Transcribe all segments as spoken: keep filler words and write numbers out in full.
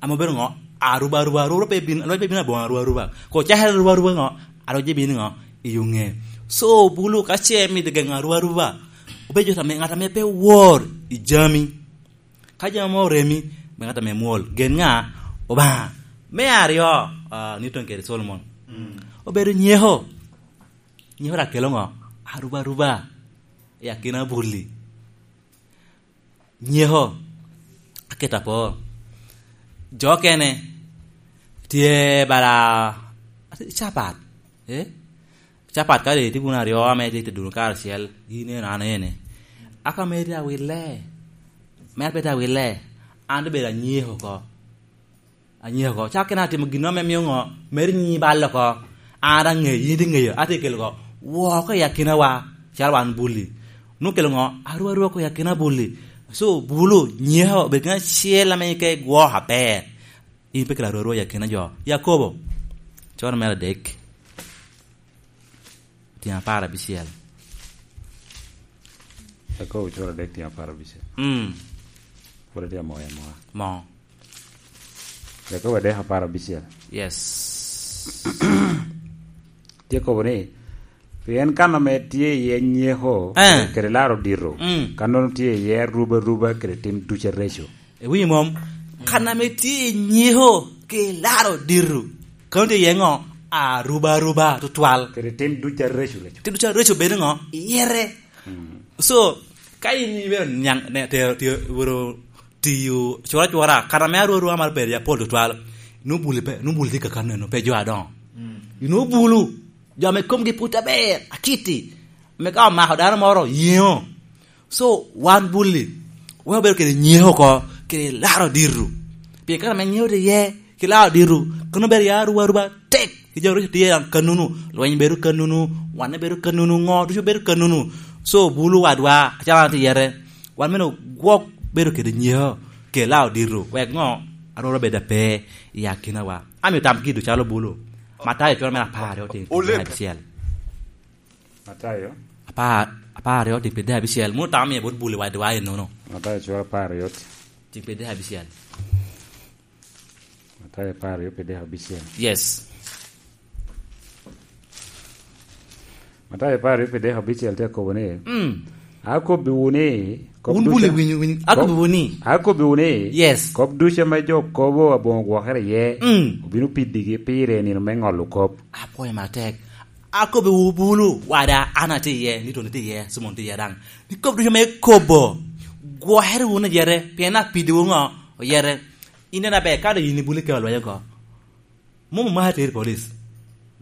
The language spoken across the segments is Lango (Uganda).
Ame obedo ŋo? Aruba aruba, aruba pe bin, alwec pe bin aboŋo aruba aruba. Ko cakere aruba aruba ŋo? Alwec bino ŋo? I yo ŋe. So, bulu ka ce mito geŋo aruba aruba, obedo jo ame, ŋat ame pe wor i jami. Ka jami mo oremi, be ŋat ame mwol. Gen ŋa? Obaŋa. Me aryo, ah, Newton kede Solomon. Mm. Obedo nyeko. Nyeko rak kelo ŋo? Aruba aruba. I akina buli. Nyeko, aketo apo. Jo okene tye bala capat, eh? Capat ka doŋ itye wunu aryo ame itye tedo wunu karacel, in eno, an ene. Aka mere tye awille, mere pe tye awille, an doŋ bedo anyeko oko. Anyeko oko. Cak kene atimo gin ame mio ŋo? Meri nyi bal oko. An aŋeyo, yin tye ŋeyo, atye kelo oko. Woo oko i akinawa, calo wan buli. Nwoŋo kelo ŋo? Aru aru oko i akina buli. So, bulu, nyeko, obedo kene acel ame ke gwo aber. In pe kelo aru aru i akina jo. Yakobo, coro mere adek. Tyen apar abicel. Yakobo cura adek tyen apar abicel. Mm. Pwod atye amoyo amoya. Mo. Yakobo adek apar abicel. Yes. Tye kobo ni, pien kan ame tye iye nyeko, eh, kede laro dito, mm, kannono tye iye aruba aruba kede tim duc areco. Iwinyo mom? Kan ame tye i nyeko ki laro dito, kano tye iye ŋo? Aruba aruba tutwal. Kede tim duc areco reco. Tim duc areco bedo ŋo? Iyere. Mm. So, ka in ibedo niaŋ, ne, tero, tero, wero tiyo cura cura, kan ame aru aru amaro bedo apol tutwal, nubuli pe, nubuli tye kakano eno, pe jo adoŋo. Mm. Inubulu, jo ame komgi pwod aber, akiti, ame ka omako dano moro, yeŋo. So, wan buli, wek obedo kede nyeko oko, kede laro dito. Pien kan ame nyeko tye iye, ki laro dito, kono bedo ya aruba aruba tek, ki jo ducu tye daŋ kanunu, lweny bedo kanunu, wanne bedo kanunu, ŋo ducu bedo kanunu. So, bulu wadwa, acalo an atye yete, wan mene gwok bedo kede nyeko, kede laro dito, wek ŋo? Aroro bedo ape i akinawa. Amio tam kido calo bulu. Matayo cura mere apar aryo tyen abicel. Matayo. Apar, apar aryo tyen pyeradek abicel. Munu tam mie bot buli wadwa ennono. Matayo cura apar aryo tyen pyeradek abicel. Matayo apar aryo pyeradek abicel. Yes. Matayo apar aryo pyeradek abicel tye akobo ni, mm, akobbiwu ni, kop wun ducu buli winyo, winyo. Akobbiwu ni. Akobbiwu ni, yes, kop ducu ame jo kobo aboŋo gwokere iye, mm, obino pidigi pire i nino me ŋolo kop. Apwoyo matek. Akobbiwu bulu, wada, an atye iye, Newton tye iye, Solomon tye iye daŋ. Ni kop ducu ame ekobo, gwokere wunu yete, pien apiddiwu ŋo? Oyete. In en aber, ka doŋ in ibuli kelo lweny oko. Mom omaki ateri i police.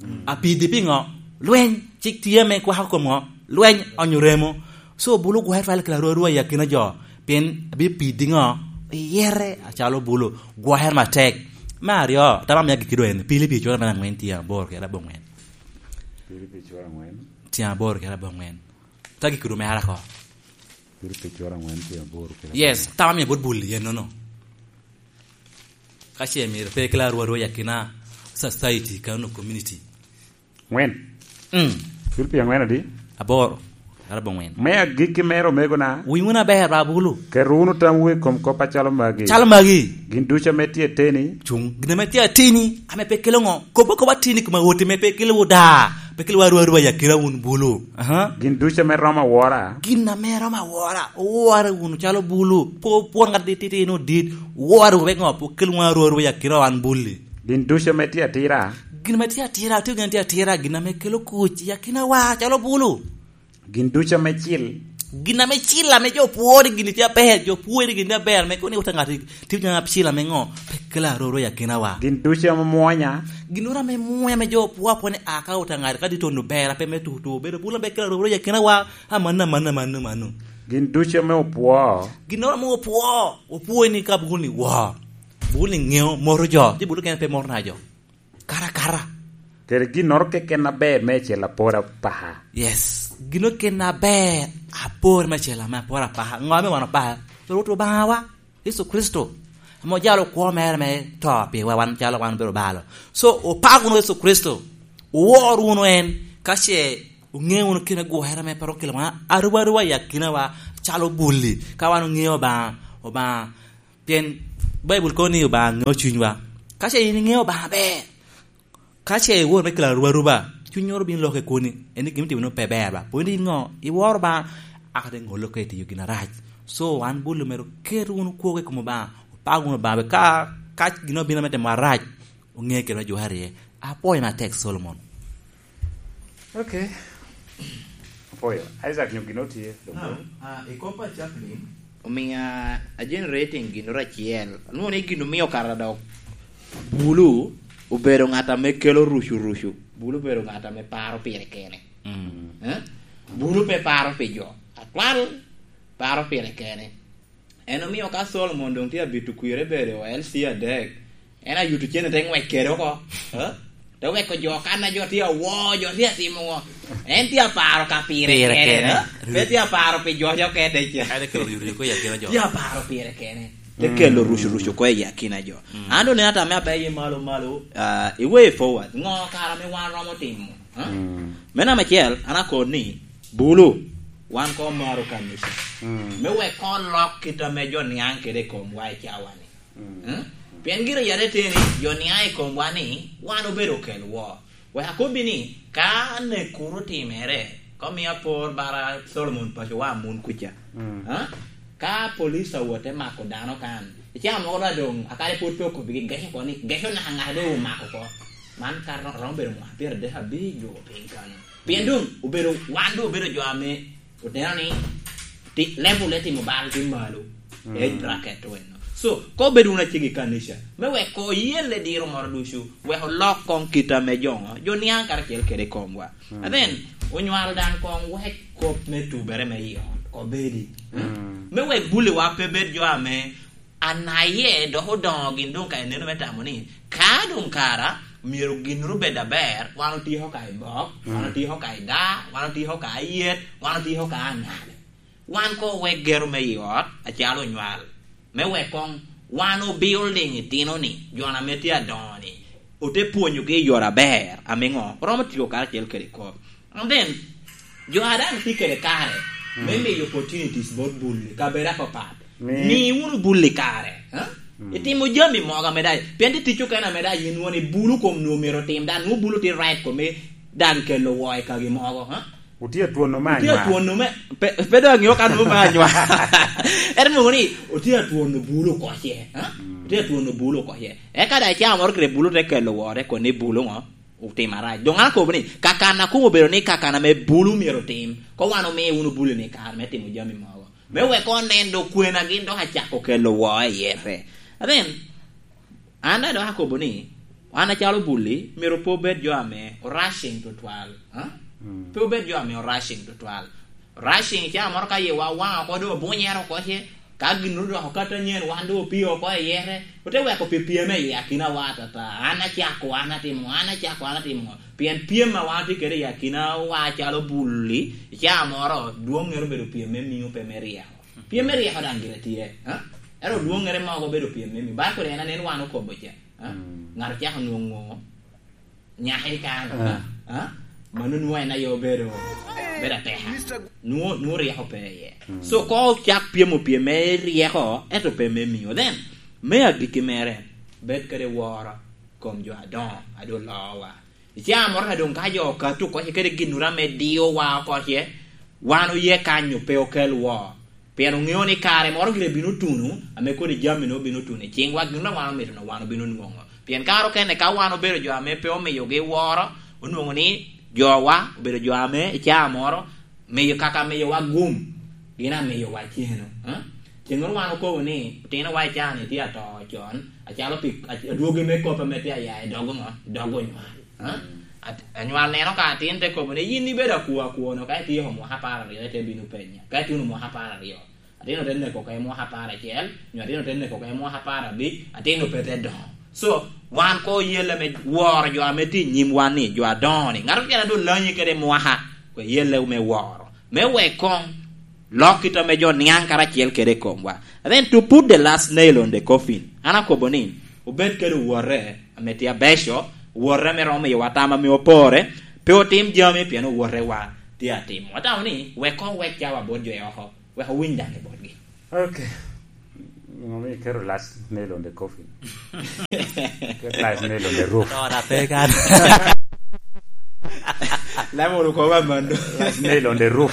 Mm. Apiddi piŋo? Lweny, cik tye ame kwako kom ŋo? Lweny, onyo remo. So, bulu gwokere twal kelo aru aru i akina jo, pien abipiddi ŋo? Iyere acalo bulu, gwokere matek. Me aryo, tam amiya giki doŋ en, Pilipi cura mere aŋwen tyen aboro kede aboŋwen. Pilipi cura aŋwen. Tyen aboro kede aboŋwen. Ta giki doŋ mere ako. Pilipi cura aŋwen tyen aboro kede aboŋwen. Yes, tam amiya bot buli ennono. Ka ce myero pe kela aru aru i akina society, kano community. Ŋwen. Mm. Pilipi aŋwen adi? Aboro. Arabo ŋwen. Me agikki mere, omegona. Winy wunu aber, ba bulu. Ket wunu tamwu i kom kop acalo magi. Calo magi. Gin ducu ame tye ateni. Cuŋ. Gin ame tye ateni, ame pe kelo ŋo? Kop akoba ateni i kom awotte ame pe kelo da. Pe kelo aru aru i akina wun bulu. Aha. Gin ducu ame romo awora. Gin ame romo awora, owore wunu calo bulu. Pe opwor ŋat tititino dit, owore wunu wek ŋo? Pe okel wunu aru aru i akina wan buli. Gin ducu ame tye atira. Gin ame tye atira, tye gin tye atira, gin ame kelo kuc i akinawa calo bulu. Gin ducu ame cil. Gin ame cil ame jo pwoo ni gin tye aber, jo pwoo ni gin tye aber, ame kono ni wot a ŋat tye gin ame cil ame ŋo? Pe kelo aru aru i akinawa. Gin ducu ame mwonya. Ginnoro ame mwonya ame jo pwoo apwoo ni a ka wot a ŋat ka tye tono ber, ape me tutu, bedo bulu ame kelo aru aru i akinawa. Amanno, amanno, amanno, amanno. Gin ducu ame opwoo. Ginnoro ame opwoo, opwoo ni ka bulu ni woo. Bulu ni ŋeo, moto jo. Ci bulu kene pe moto na jo. Kara, kara. Kede ginnoro keken aber me acel apor apaka. Yes. Ginnoro keken aber apor me acel ame apor apaka. Ŋo ame wan opaka? Rwot Obaŋawa. Yecu Kricito, ame ojalo kwo mere me to piwa wan calo wan obedo balo. So, opak wunu Yecu Kricito, owor wunu en, ka ce oŋe wunu kit me gwokere ame pe rik okelo wan aruba aruba i akinawa calo buli, ka wan oŋeo Obaŋa, Obaŋa, pien Baibul kono ni Obaŋa ŋeo cunywa. Ka ce in iŋeo Obaŋa aber, ka ce iwor me kelo arubaruba, cuny oro bino lokke koni. En ni gin itimo ni pe ber ba. Pwod in ŋo? Iworo Obaŋa, aka te ŋolo ka itiyo gin arac. So, wan bulu mere oket wunu kwogo i kom Obaŋa, opag wunu Obaŋa, ka, ka gin obino me timo arac, oŋe kede me jware iye. Apwoyo matek, Solomon. Okay. Apwoyo. Isaac, nyo gin otye? Ah, ah, i kop a Chaplin, omiya a generating ginoro acel. Anwoŋo ni gin omio kara dok bulu obedo ŋat ame kelo rucu rucu. Bulu obedo ŋat ame paro pire kene. Mm. Eh? Bulu pe paro pi jo. Atwal paro pire kene. En omio ka Solomon doŋ tye abito kwire bedo L C adek, en ayuto cene te ŋwec kede oko. Eh? Te weko jo kan a jo tye awo, jo tye atimo ŋo. En tye aparo ka pire Pire kene, kene. Eh? Pe tye aparo pi jo jo kede ca. Kade kelo rucu rucu ko i akina jo. Tye aparo pire kene. Te kelo rucu rucu ko i akina jo. An doŋ neno ata me abeyo malo malo, ah, i way forward. Ŋo kara me wan romo timo? Eh? Me namba acel, an akon ni, bulu, wan ko maro kanica. Me wek ko lok kit ame jo niaŋ kede i komwa i cawa-ni. Mm? Pien gire yat eteni, jo niaŋ i komwa ni, wan obedo okel wo. Wek akobbi ni, ka nek kuro otimere, ko mio apor bara Solomon pacowa amun kuca. Ah? Ka police awot te mako dano kan, i cawa mogo doŋ, akade pwod pe okobbigi, geco oko ni, geco naka ŋat doŋ omako oko. Man ka ro-, romo bedo mwaka pyeradek abic dwogo piny kanyo. Pien doŋ obedo, wan doŋ obedo jo ame oteno ni ti-, level e timo bal tye malo. Age bracket to eno. So, ka obedo wun acego i kanica, me wek ko yelle diro moro ducu, wek olok koŋ kit ame jo ŋo, jo niaŋ karacel kede i komwa. And then, onywalo daŋ koŋ wek kop me tubere me i ot, ko bedi. Me wek buliwa pe bed jo ame anaye dok odoŋo gin doŋ ka ineno me tamo ni, ka doŋ kara myero ginnoro bed aber, wan otyeko ka i bok, wan otyeko ka i daa, wan otyeko ka ayet, wan otyeko ka aŋal. Wan ko wek gero me i ot, acalo onywal, me wek koŋ wan obuilding itino-ni, jo ame tye adoŋo-ni, ote pwonyogi i yore aber, ame ŋo, romo tiyo karacel kede kop. And then, jo a daŋ tye kede kare me miyo opportunities bot bulli, kabedo apapat. Mi wunu bulli kare, ha? Itimo jami mogo ame daŋ, pien tye tic okene ame daŋ yin won ibulu kom nwo myero otim, daŋ nwo bulu tye right kome daŋ kelo woo i kagi mogo, ha? Wutye atwonno me Wutye anywar. Atwonno me, pe, pe doŋ aŋeo ka nwo me anywar. Ento nwoŋo ni, otye atwonno bulu oko ce, ha? Otye atwonno bulu oko ce. Eka daŋ icaa moro gire bulu te kelo woo, te koni bulu ŋo? Otimo arac. Doŋ an akobo ni, kakan a komo obedo ni kakan ame bulu myero otim, ko wan omi wunu bulu-ni kare me timo jami mogo. Me wek onen dok kwena gin dok acako kelo woo i yete. And then, an daŋ dok akobo ni, wan acalo bulli, myero pe obed jo ame o rushing tutwal. Ha? Pe obed jo ame o rushing tutwal. Rushing ca moro ka yewa owaŋ oko, doŋ obunyere oko ce, ka gin odoko kata nyen, wan doŋ opio oko i yete, ote weko pi pyem i akinawa atata. An acako, an atimo, an acako, an atimo. Pien pyem a wan otye kede i akinawa acalo bulli, i ca moro, dwoŋŋere obedo pyem me miŋo pe me ryeko. Pyem me ryeko daŋ gire tye, ha? Ento dwoŋŋere mogo obedo pyem me miŋo. Baibul en anen wan okobo ca, ha? Ŋat ocako nwoŋo nyaka i kare, ha? Mano nwoŋo en aye obedo, bedo ateka. Nwoŋo, nwoŋo ryeko pe iye. So, ko ocak pyemo pyem me ryeko, ento pe me miŋo. Then, me agikki mere, bed kede woro kom jo adoŋo, a doŋ loowa. I caa moro ka doŋ ka jo okato oko ce kede ginnoro ame diowa oko ce, wan oye kanyo pe okel woo. Pien oŋeo ni kare moro gire bino tuno, ame kodi jami-nu obino tuno i ciŋwa, gin ame wan omito-nu wan obino nwoŋo. Pien kare okene ka wan obedo jo ame pe omiyogi woro, onwoŋo ni jowa obedo jo ame i caa moro miyo kaka miyowa gum, gin amiyowa ceno. Eh? Ceŋ moro wan okobo ni, otinowa i caa-ni tye ato con, acalo pi, adwogi me kop ame tye aya i dog ŋo? I dog onywal. Eh? At-, anywal neno ka atin te kobo ni, "Yin ibedo akwo akwo-nu, ka itye oko mwaka apar aryo, ite bino penya. Ka ituno mwaka apar aryo, atin ote neko oko i mwaka apar acel, nyo atin ote neko oko i mwaka apar abic, atin ope te doŋo." So, wan ko oyelle me woro jo ame tye i nyim wan ni, jo adoŋo ni. Ŋat okene a doŋ lanyi kede mwaka, ko eyelle me woro. Me wek koŋ lok kit ame jo niaŋ karacel kede i komwa. And then to put the last nail on the coffin, an akobo ni, obed kede owote ame tye abeco, owote ame romo miyowa tam ame opore, pe otim jami pien owotewa tye atimo. Atamo ni, wek koŋ wek cawa bot jo i oko, wek owiny daŋ i botgi. Okay. Ŋo mi iketo last nail on the coffin? Ket last nail on the roof. Ora pe kan. Lame oro ko ba mando. Last nail on the roof.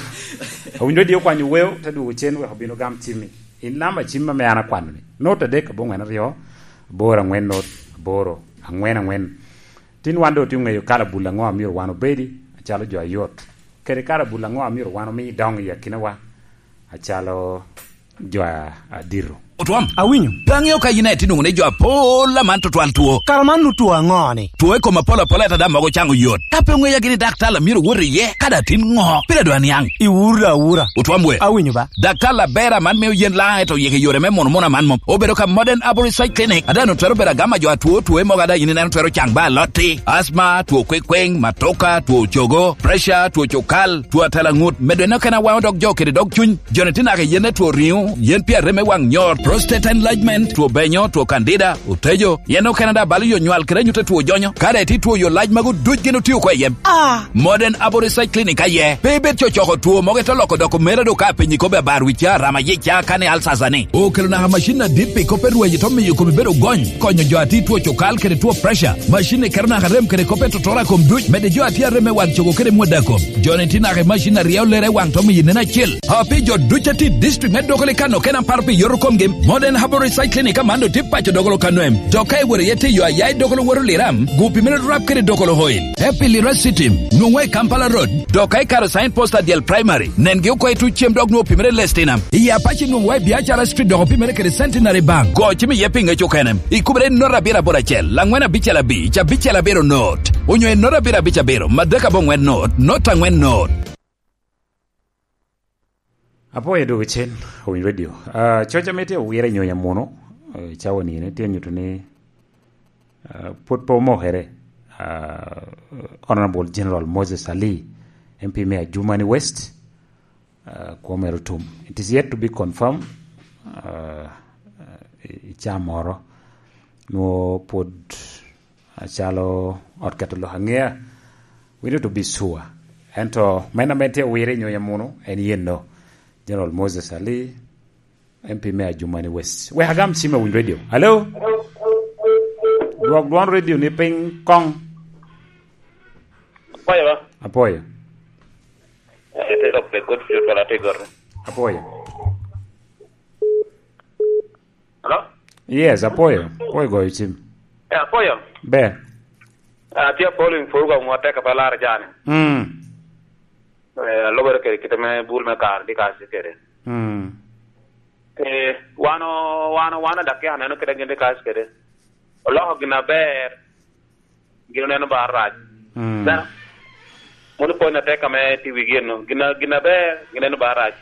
Owinjo di okwanyo weo, te dwogo cen wek obino gam cimmi. In namba cim ame an akwano-ni. Not adek aboŋwen aryo, aboro aŋwen not, aboro aŋwen aŋwen. Tin wan doŋ otye oŋeyo kala bul aŋo a myero wan obedi, acalo jo ayot. Kede kala bul aŋo a myero wan omi doŋ i akinawa, acalo jo a-, adito. Otwom. Awinyo. Pe aŋeo ka yin aye tye nwoŋo ni jo apol aman tutwal two. Kara man nu two aŋo ni? Two i kom apol apol, ento daŋ mogo caŋo yot. Ka pe oŋeya gini daktar a myero wot iye, ka daŋ tin ŋo? Pire dwa niaŋ. Iwura, awura. Otwom we. Awinyo ba. Daktar aber aman mio yen laŋ, ento yeke yore me mono mono aman mom. Obedo ka Modern Herbal Research Clinic. Ada no twero bedo agama jo atwo, two mogo ada yin ineno twero caŋ ba alotti. Asma, two kwekweng, matoka, two cogo, pressure, two cukal, two atela ŋut. Medo eno kena waŋo dog jo kede dog cuny. Joni tye naka yen ne two riŋo, yen pi arem me waŋ nyor, prostate enlargement, two benyo, two candida, otejo, yen okene da balo yo nywal kede anyutte two jonyo. Kare ti two yo lac magu duc gin otio ko i yem. Ah! Modern Abo Research Clinic aye. Pe ibed cocoko two mogo ito loko doko mera do ka penyi kobe abar wi ca rama ye ca kane alsasa ni. Okelo naka macin adit pi kope rweyo to miyo komi bedo gony. Konyo jo ati two cukal kede two pressure. Macin ikero naka rem kede kope totora kom duc. Mede jo ati arem me wang cogo kede mwada kom. Joni ti naka i macin aryo lere waŋ to miyo nen acel. Api jo duc ati district me doko le kano kena paro pi yoto komgi. Modern Herbal Research Clinic amando ti paco dogolo kano em. Dok ka iwero ye ti yo ayai dogolo woro liram, gupi mene rap kede dogolo oil. Epi lira sitim, nwoŋo i Kampala Road. Dok ka ikaro sign post adyel primary, nengi oko i tuc cem dok nwoŋo pimere lestinam. I Apache nwoŋo wa i Biacara Street dok opimere kede Centenary Bank. Go cim iye pi ŋec okene. Ikubere i nota abiro aboro acel, laŋwen abicel abic, abicel abiro not. Onyo i nota abiro abic abiro, madek aboŋwen not, not aŋwen not. Apwoyo dwogo cen, Owiny Radio. Ah, coc ame tye owire i nyonya muno, eh, cawa ni ene tye nyuto ni, ah, pwod pe omokere. Ah, Honorable General Moses Ali, M P me Adjumani West, ah, kwo mere otum. It is yet to be confirmed, ah, i, i caa moro. Nwo pwod acalo ot keto lok aŋea, we need to be sure. Ento men ame tye owire i nyonya muno, en yenno. General Moses Ali, M P me Adjumani West. Wek agam cim i Owiny Radio. Hello? Dwok dwon radio ni piny koŋ. Apwoyo ba? Apwoyo. Eh, te dok pe kod fiyo twala te goro. Apwoyo. Hello? Yes, apwoyo. Apwoyo goyo cim. Eh, apwoyo. Ber. Ah, tye apol in pur gwa mwa tek pa lar jani. Mm. Eh, alobere kede kite me bul me kar di kasi kede. Mm. Eh, wano, wano, wano dak ya neno kede gin di kasi kede. Oloko gin aber, gin oneno ba rac. Mm. Neno? Mono pwony atek ame tye wigi eno. Gin a-, gin aber, gin oneno ba rac.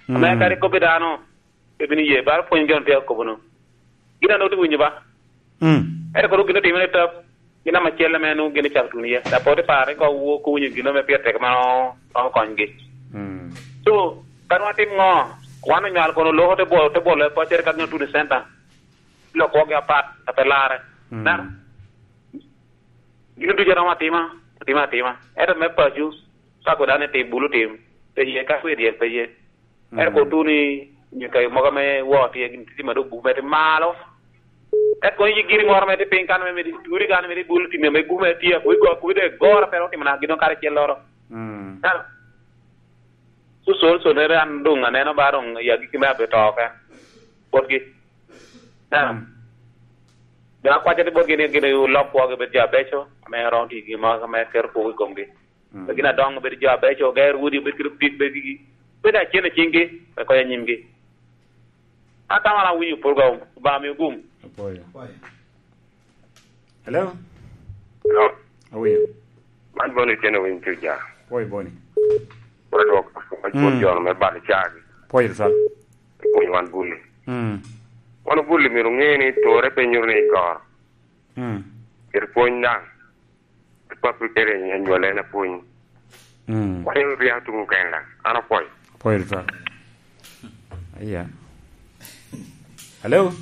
Ame mm, kadi kobbi dano, pe bino ye, baro pwony gin tye akobo no. Gin a nwoŋo tye winyo ba? Mm. Ento kono gin otimere tap, gin ama cel ame nwoŋo gin ocako tuno iye. Dok pe ote pare ko wo-, ko winyo gin ame pire tek ma o-, romo konygi. Mm. So, ka nwoŋo atim ŋo? Wan onywal kono loko te bwolo, te bwolo i paccere ka gin otuno i center. Lok kwogi apat, a pe larre. Mm. Neno? Gin ducu romo atima, atima, atima. Ento me paco, ka koda ni tim, bulu tim, pe ye, ka kwe dyel pe ye. Ento mm, kotu ni nyuka mogo ame woo tye, gin tye ma dok buk mere tye malo. Ento kono yi giri moro mere tye piny kan mere, turi kan mere bulu tim, ame buk mere tye, kuwi go, kuwi de goro, pe otimo na gin kare celloro. Mm. Ento, so, so, so, nere an doŋ aneno ba doŋ i agikki me abe to oke. Botgi. Ento, mm, doŋ akwaca ni botgi ni gin olok kwogi bed jo abeco, ame romo tiyo gin mo, ame keto kwogo i komgi. Mm. Pe gin adoŋo bed jo abeco, oger udi obed kede opik, bed gigi. Bed acen i ciŋgi, pe konya nyimgi. Atamo an awinyo program, Obaŋa mi ogum. Apwoyo. Hello? Hello? Awinyo. Man Boni Otieno, winyo tuja. Apwoyo Boni. Pwod dwoko, pwod mm, jono me balo cagi. Apwoyo tutwal. Pwony wan buli. Mm. Wan buli myero ŋe ni tore pe nyuto ni igoro. Mm. Kede pwony daŋ. Papi kede anywale en apwony. Mm. Wan en oria tuŋ okenda. An apwoyo. Apwoyo tutwal. Aya. Hello?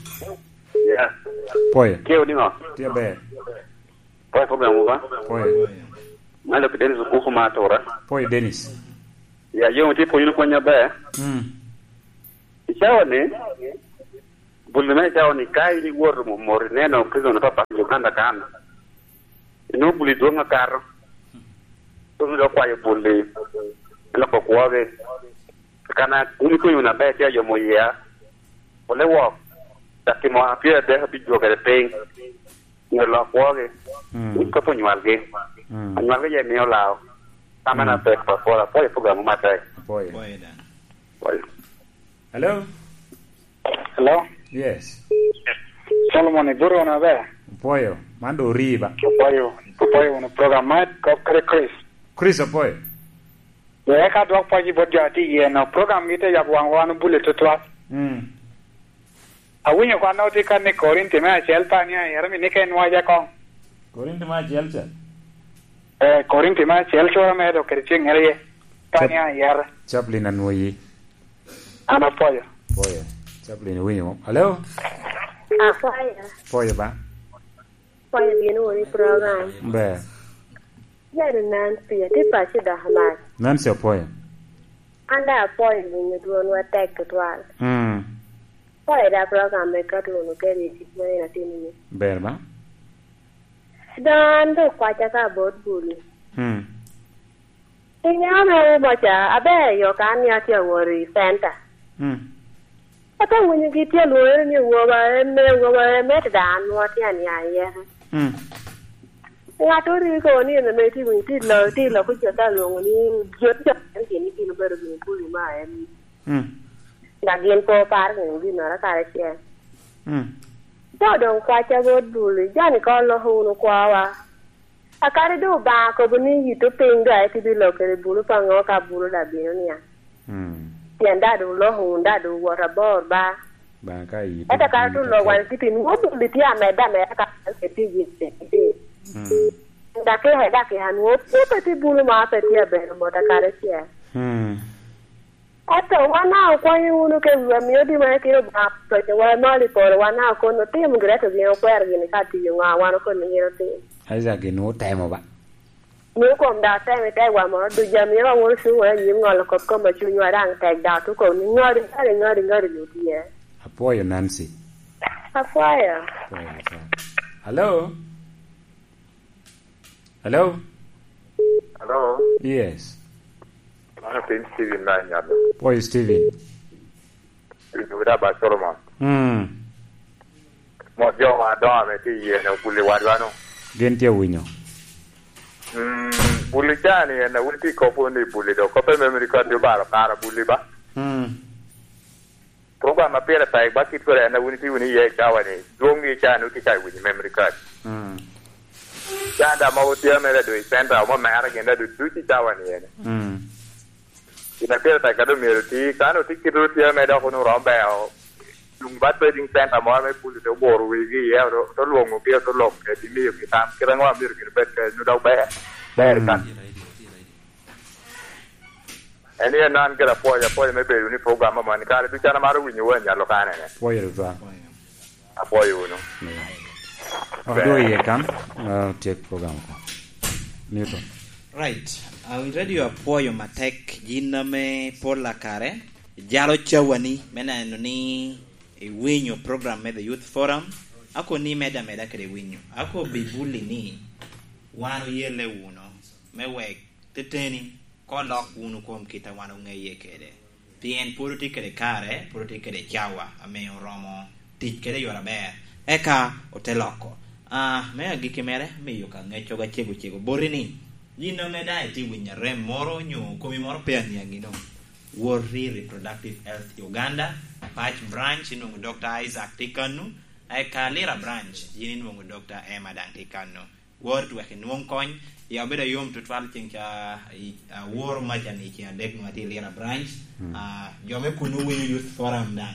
Yeah. Apwoyo. Tye odi ŋo? Tye aber. Apwoyo program ba? Apwoyo. Malo ki Dennis Okuku ma atura. Apwoyo Dennis. Ya, yo tye pwonyo ni pwony aber. Mm. I cawa ni, Buli me cawa ni ka in iwoto momot ineno prison papa i Uganda kan, inwoŋo buli dwoŋ akato. Dwoŋ dok kwayo buli, loko kwogi. Kana in ikonyo wunu aber, tye ayomo yia. Ole wok, cak timo apyer adek abijwogere piny. Nyo lok kwogi. Mm. Kop onywalgi. Mm. Anywalgi je mio lao. Amen. Mm. Apek pa pol, apwoyo program matek. Apwoyo. Apwoyo dan. Apwoyo. Hello? Hello? Yes. Solomon, iburo wunu aber? Apwoyo. Man do ori ba? Apwoyo. Apwoyo wunu program ma kop kede Chris. Chris, apwoyo. Ye, eka dwok pwoc i bot jo a tye iye no. Program gi te yabo waŋ wan obule tutwal. Mm. Awinyo kwan otye ka ni Korinti me acel pa ni ayero mi ni ka enwaja koŋ. Korinti me acel ca? Eh, Korinti me acel cura me dok kede ceng ŋere ye. Pa ni ayero. Chaplain anwoyi. An apwoyo. Apwoyo. Chaplain iwinyo mo? Hello? Apwoyo. Apwoyo ba? Apwoyo bino wunu i program. Ber. Jari Nancy, atye paco dok amac. Nancy apwoyo. An daŋ apwoyo winyo dwonwa tek tutwal. Mm. Apwoyo da program me Katuno kede i tic ma en atimo ni. Ber ba? Dong an dok kwaca ka bot buli. Mm. Iniaŋo me umo ca, aber yo ka an atye awot i center. Mm. Ate winyo gi tye alwoŋere ni awoba, en me awoba, en me da an nwoŋo tye aniaŋ iye. Mm. Ŋat ori kono ni en ame tye winyo, tye lo, tye lo kuca ka alwoŋo ni jot jo en gin ni gin obedo gin kuli ma en. Mm. Dok gin pe oparo gin ginnoro karacel. Mm. Te doŋ kwaca bot buli, joni ka oloko wunu kwawa. Akadi doŋ Obaŋa kobo ni yitto piny doŋ ete bilokere bulu pa ŋo ka bulu daŋ bino niaŋ. Mm. Pien daŋ doŋ oloko wunu, daŋ doŋ owot abor ba. Obaŋa ka yitto. Ento kara doŋ lok wan kiti nwoŋo bulu tye amedde ameda ka wan pe tye yitto. Mm. Dakika i dakika nwoŋo pe pe tye bulu ma pe tye abedo mot akadi acel. Mm. Ento wan a okwanyo wunu ka wiwa mio di wan kede Obaŋa ococo wa malo i polo, wan a okono otimo gire, to gin okwero gini ka tiyo ŋa, wan okono gin otim. Isaac gin otemo ba? Mio kom da otemo i tegwa moro duc, amio wa woro cuŋ wa anyim ŋolo kop kom a cunywa daŋ tek da, to kom ni ŋodi, ŋodi, ŋodi, ŋodi ni tye. Apwoyo Nancy. Apwoyo. Apwoyo, apwoyo. Hello? Hello? Hello? Yes. Mano piny Steven na nyalo. Boy Steven. Steven Wida ba Solomon. Mm. Mo jo ma doŋ ame tye iye ne obuli wadwa no. Gin tye winyo. Mm, buli ca ni en awin ti kopo ni buli do. Kope memory card yo bara para buli ba. Mm. Program ma pire tek ba kit kore en a wun itye wunu iye i cawa ni, dwoŋ i cawa ni wutye ka winyo memory card. Mm. Can da mogo tye mere do i center, omo mere gin da ducu i cawa ni ene. Mm. Gin a pire tek ka do myero ti, ka no ti kit ru tye mere dok wunu rom beo, luŋ ba trading center moro me puli te oboro wigi iye, to, to lwoŋogi, to lok kedi miyogi tam, kit aŋo a myero gin bed kede, nu dok ber, ber kan. Mm. En en an kede apwoyo, apwoyo me bedo ni program amoni kare ducu an amaro winyo wa nyalo kanene. Pwoyo tutwal. Apwoyo wunu. Miyo. Odwogo iye kan, ah, tyek program ko. Newton. Right. Awi radio apwoyo matek, gin ame pol akare, jalo cawani me neno ni iwinyo program me The Youth Forum, ako ni meda meda kede winyo. Ako bibuli ni wan oyele wuno, me wek teteni, ko lok wunu kom kit a wan oŋeye kede. Pien pwod otye kede kare, pwod otye kede cawa, ame oromo tic kede i yore aber. Eka ote loko. Ah, me agikki mere, miyo ka ŋeccoga cego cego boti ni, yin ame daŋ itye winyo arem moro, onyo komi moro pe aniaŋino, wot i Reproductive Health Uganda, Pac Branch, inwoŋo Doctor Isaac tye kano, eka Lira Branch, yin inwoŋo Doctor Emma daŋ tye kano. Wot wek inwoŋ kony. Ya obedo ayom tutwal ceng ca, i, aworo maca ni ceng adek nwa tye i Lira Branch. Mm. Ah, jo me kunnu winyo Youth Forum daŋ.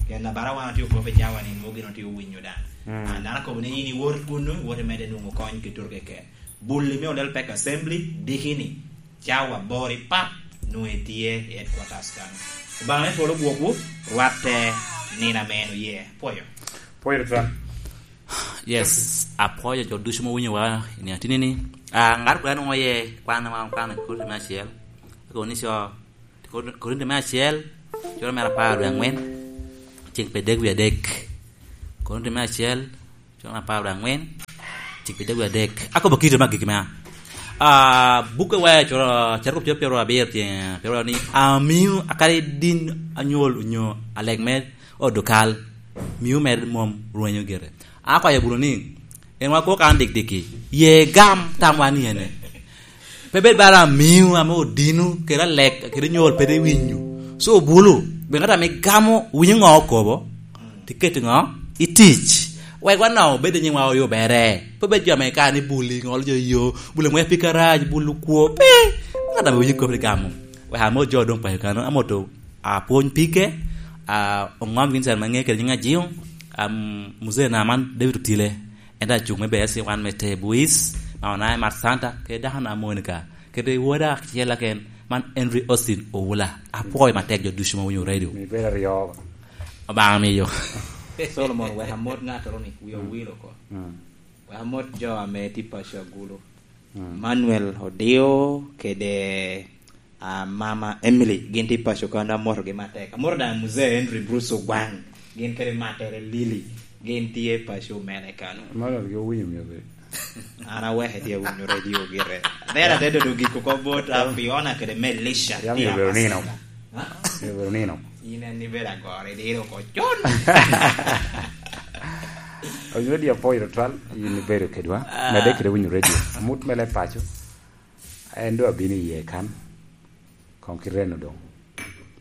Pien abara wan otye okobo i cawa ni nwoŋo gin otye owinyo daŋ. Mm. Ah, dano akobo ni yin iwot kunnu, iwot imedde nwoŋo kony ki tur keken. Bul i me Olel Pek Assembly, diki ni, cawa aboro i pap, nwoŋo etye i headquarters kano. Obaŋa me polo gwokwu, rwatte nino ame en oye. Pwoyo. Pwoyo tutwal. Yes, apwoyo jo ducu ma winyo wa i nino atini ni. Ah, ngat kwan ongo ye kwan ma kwan Korinti me acel. Korinti co, Korinti me acel, coro mere apar wie angwen, ceng pe dek wie adek. Korinto me acel, cura apar kede angwen, cik pi dogwi adek. Akobo kite me agikki mea. Ah, buk e waya cura, carkup cura pyero abiro tye, pyero ni, "Amiu akadi din anyol onyo alek me odokal, miu mere mom rwenyo gire." Akwayo bulu ni, en wa kwo kan dik diki, ye gam tam wa ni ene. Pe bed bara amiu ame odino, kede alek, kede nyol, pe de winyo. So, obulu, be ŋat ame gamo, winyo ŋo okobo, ti keto ŋo i tic. Wek wan nɔŋ obed i nyiŋwa oyubere. Pe bed jo ame ka ni buli, ŋolo jo yo, buli ŋwe pig karac, bulu kwo, pe. Ŋat ame winyo kop ni gamo. Wek amo jo doŋ payo kano, amoto apwony pige, a, oŋom Vincent Mange kede nyiŋ Ajiŋo, am, Muzee na man David Otile. Ento acuk me B S C wan me te Buis, ma onae Mat Santa, kede dako na Monica, kede woda acel aken, man Henry Austin Owula. Apwoyo matek jo ducu ma winyo radio. Mi bedo aryo. Obaŋa miyo. Solomon, wek amot ŋattoro ni, wi owil oko. Mm. Wek amot jo ame tye paco agulu. Mm. Manuel Odio kede, ah, Mama Emily, gin tye paco kano, amotogi matek. Amoto daŋ Muzee Henry Bruce Ogwang, gin kede matere Lily, gin tye paco mene kano. Manuel gi owinyo myero bed. An aweke tye awinyo radio gire. There ate dodo gik oko bot, ah, Fiona kede Melisha. Yam tye myero bedo nino. Apasika. Ha? Myero bedo nino. In en ibedo agoro i diro oko con. Owinyo radio apwoyo tutwal, in ibedo kedwa. Ah. Medde kede winyo radio. Amut mele paco. En doŋ abino iye kan. Koŋ kite eno doŋ.